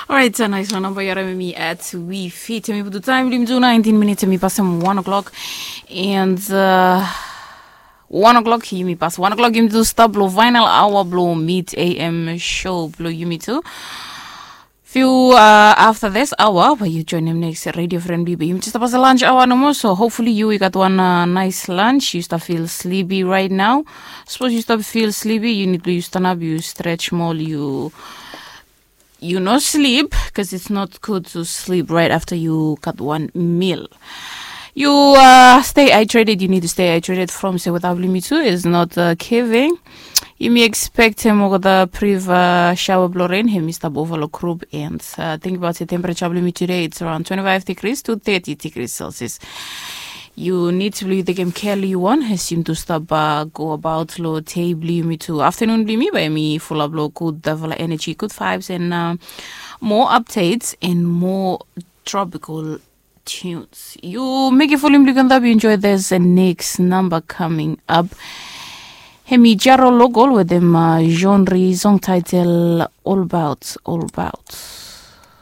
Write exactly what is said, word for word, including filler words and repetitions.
Orait, a nais wan namba yara mi at we fit. Mi putu taim blo yumi tu nineteen minutes, mi pasem one o'clock. And uh, one o'clock yumi pas one o'clock yumi tu stap blo final hour blo mid A M show blo yumi tu. Few uh, after this hour, but you join him next radio friend bibi. Yumi just pas lunch hour no more, so hopefully you, you got one uh, nice lunch. You start feel sleepy right now. Suppose you start feel sleepy, you need to you stand up, you stretch more, you you no sleep because it's not good to sleep right after you cut one meal. You uh, stay hydrated. You need to stay hydrated from se without limit too is not uh, giving. Yumi expect him over the priv uh, shower blo rain. Him is the buffalo group and uh, think about the temperature of limit today. It's around twenty-five degrees to thirty degrees Celsius. You need to believe the game carefully you want. Assume to stop uh, go about lo day bli mi to afternoon bli mi by me full up lo good devil energy, good vibes and uh, more updates and more tropical tunes. You make it full implikan that you enjoy this uh, next number coming up. Hemi Jaro Local with them uh, genre song title All About, All About.